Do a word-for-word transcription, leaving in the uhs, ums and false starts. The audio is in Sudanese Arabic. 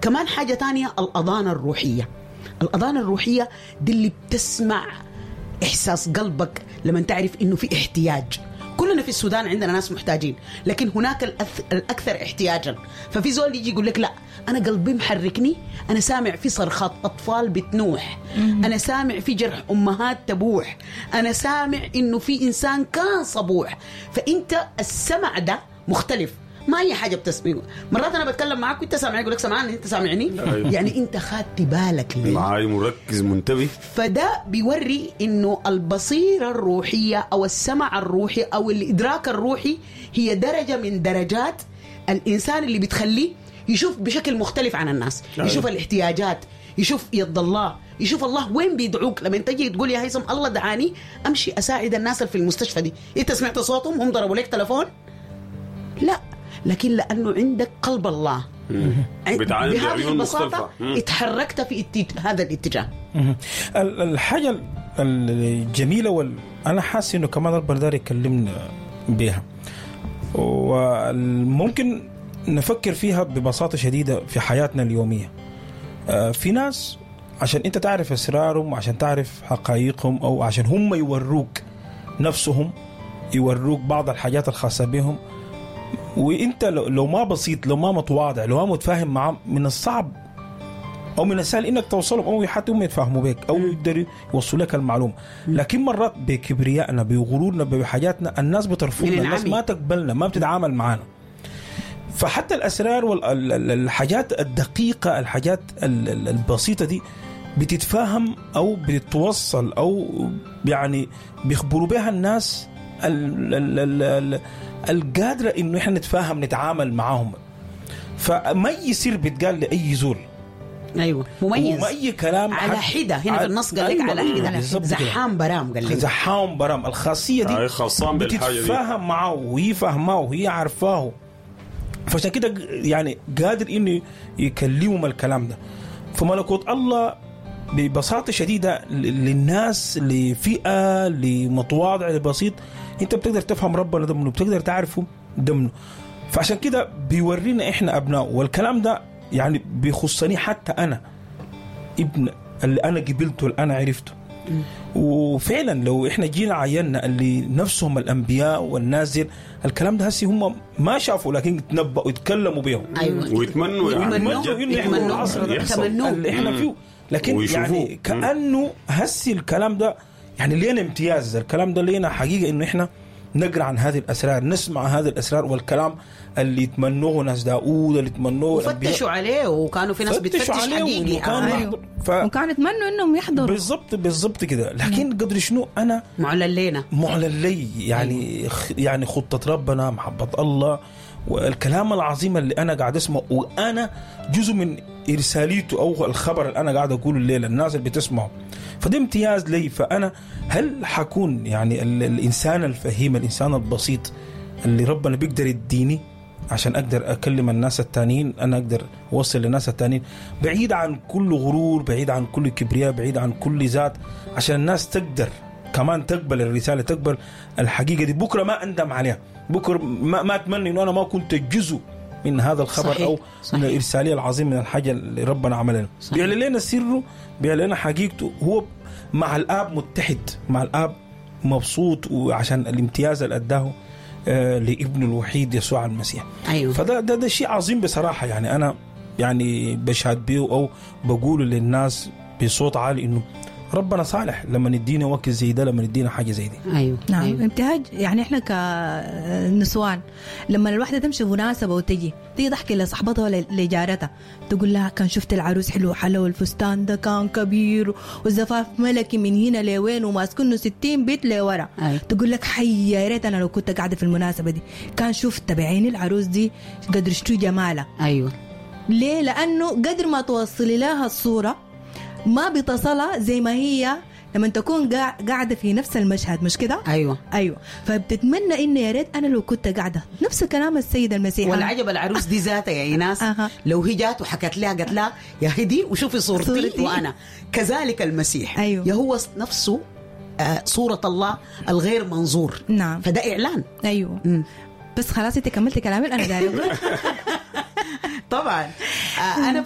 كمان حاجة تانية، الأذان الروحية. الأذان الروحية دي اللي بتسمع إحساس قلبك لما تعرف إنه في احتياج. كلنا في السودان عندنا ناس محتاجين، لكن هناك الأث... الأكثر احتياجا. ففي زول يجي يقول لك لا أنا قلبي محركني، أنا سامع في صرخات أطفال بتنوح، أنا سامع في جرح أمهات تبوح، أنا سامع إنه في إنسان كان صبوح. فأنت السمع ده مختلف، ما أي حاجة بتسمع. مرات أنا بتكلم معاك وأنت سامعني، يقول لك سامعني، أنت سامعني؟ أيوة. يعني أنت خدت بالك ليه؟ معاي مركز منتبه. فده بيوري إنه البصيرة الروحية أو السمع الروحي أو الإدراك الروحي هي درجة من درجات الإنسان اللي بتخليه يشوف بشكل مختلف عن الناس. أيوة. يشوف الاحتياجات، يشوف يد الله، يشوف الله وين بيدعوك. لما انت تجي تقول يا هيثم الله دعاني امشي اساعد الناس اللي في المستشفى دي، انت سمعت صوتهم؟ هم ضربوا لك تلفون؟ لا، لكن لانه عندك قلب الله بتعاني بهذه بعيون البساطة مختلفة. مم. اتحركت في اتج... هذا الاتجاه. مهم. ال- الحاجة الجميلة وال... أنا حاسس إنه كمان ربنا داير يكلمنا بيها، وممكن نفكر فيها ببساطة شديدة في حياتنا اليومية. آه، في ناس عشان أنت تعرف أسرارهم، عشان تعرف حقائقهم، أو عشان هم يوروك نفسهم، يوروك بعض الحاجات الخاصة بهم، وانت لو لو ما بسيط، لو ما متواضع، لو ما متفاهم معهم، من الصعب او من السهل انك توصلهم او حتى هم يتفاهموا بك او يقدروا يوصلوا لك المعلومة. لكن مرات بكبريائنا، بغرورنا، بحاجاتنا، الناس بترفضنا، من الناس العمي. ما تقبلنا، ما بتتعامل معنا. فحتى الاسرار والحاجات الدقيقة، الحاجات ال- ال- البسيطة دي بتتفاهم او بتتوصل او يعني بيخبروا بها الناس ال- ال- ال- ال- القادره انه احنا نتفاهم، نتعامل معاهم. فما يصير بيتقال لاي زول ايوه، مميز وما اي كلام على حد- حده. هنا في النص قال لك أيوة، على حده. بالظبط كده. زحام برام قال لك زحام برام الخاصية دي أي خاصان بالحاجة دي. بتتفاهم معاه وهي فاهماه وهي عارفاه، فعشان كده يعني قادر انه يكلمهم الكلام ده. فملكوت الله ببساطة شديدة للناس، لفئة، لمتواضع، لبسيط، انت بتقدر تفهم ربنا ده منه، بتقدر تعرفه ده منه. فعشان كده بيورينا احنا ابنائه، والكلام ده يعني بيخصني حتى انا ابن اللي انا قبلته، اللي انا عرفته. وفعلا لو احنا جينا عينا اللي نفسهم الانبياء والنازل الكلام ده هسي هم ما شافوا، لكن تنبأوا ويتكلموا بيهم. ايوه، ويتمنوا يعني يتمنوا بجد إنه يحضروا يتمنوا العصر ده. يحصل. يتمنوه. اللي احنا فيه، لكن ويشوفوه. يعني كانه هسي الكلام ده يعني لينا امتياز، الكلام ده لينا حقيقة انه احنا نقرا عن هذه الاسرار، نسمع هذه الاسرار والكلام اللي يتمنوه ناس داوود، اللي يتمنوه الأنبياء. وفتشوا عليه، وكانوا في ناس فتشوا بتفتش عليه حقيقي. وكانوا آه. يحضر. أيوه. ف... وكانوا يتمنوا انهم يحضروا. بالضبط بالضبط كده. لكن قدر شنو انا معلن لنا، معلن لي يعني خ- يعني خطة ربنا، محبة الله، والكلام العظيم اللي أنا قاعد أسمعه، وأنا جزء من إرساليته أو الخبر اللي أنا قاعد أقوله الليلة الناس اللي بتسمعه، فده امتياز لي. فأنا هل حكون يعني ال- الإنسان الفهيم، الإنسان البسيط اللي ربنا بيقدر يديني عشان أقدر أكلم الناس التانيين، أنا أقدر أوصل للناس التانيين، بعيد عن كل غرور، بعيد عن كل كبرياء، بعيد عن كل ذات، عشان الناس تقدر كمان تقبل الرسالة، تقبل الحقيقة دي. بكرة ما أندم عليها، بكرة ما, ما أتمنى إنه أنا ما كنت جزء من هذا الخبر. صحيح. أو صحيح. من الإرسالية العظيم، من الحاجة اللي ربنا عملها لنا. صحيح. بيعلن لنا سره، بيعلن لنا حقيقته. هو مع الآب متحد، مع الآب مبسوط، وعشان الامتياز اللي أداه آه، لابنه الوحيد يسوع المسيح. ايوه، فده ده, ده شيء عظيم بصراحة. يعني أنا يعني بشهد بيه أو بقوله للناس بصوت عالي إنه ربنا صالح لما يدينا وقت زي ده، لما يدينا حاجة زي دي. ايوه. نعم. أيوة. ابتهاج يعني احنا كنسوان لما الواحدة تمشي مناسبة وتجي تيجي تحكي لصاحبتها ولا لجارتها، تقول لها كان شفت العروس حلو حلو، الفستان ده كان كبير، والزفاف ملكي من هنا لوين، وماسكنه ستين بيت لورا. أيوة. تقول لك حي يا ريت انا لو كنت قاعدة في المناسبة دي كان شفت بعيني العروس دي قدر شو جمالها. ايوه، ليه؟ لانه قدر ما توصلي لها الصورة ما بتصلها زي ما هي لما تكون قاع- قاعدة في نفس المشهد، مش كده؟ ايوه. ايوه، فبتتمنى انه يا ريت انا لو كنت قاعدة نفس كلام السيد المسيح. والعجب العروس دي ذاتها يا ايناس، أها. لو هي جات وحكت لها قالت لها يا هدي وشوفي صورتي, صورتي. وانا كذلك المسيح. أيوه. يا هو نفسه آه، صورة الله الغير منظور. نعم. فده إعلان. ايوه. مم. بس خلاص انت كملت كلامي انا دايرة طبعا آه، أنا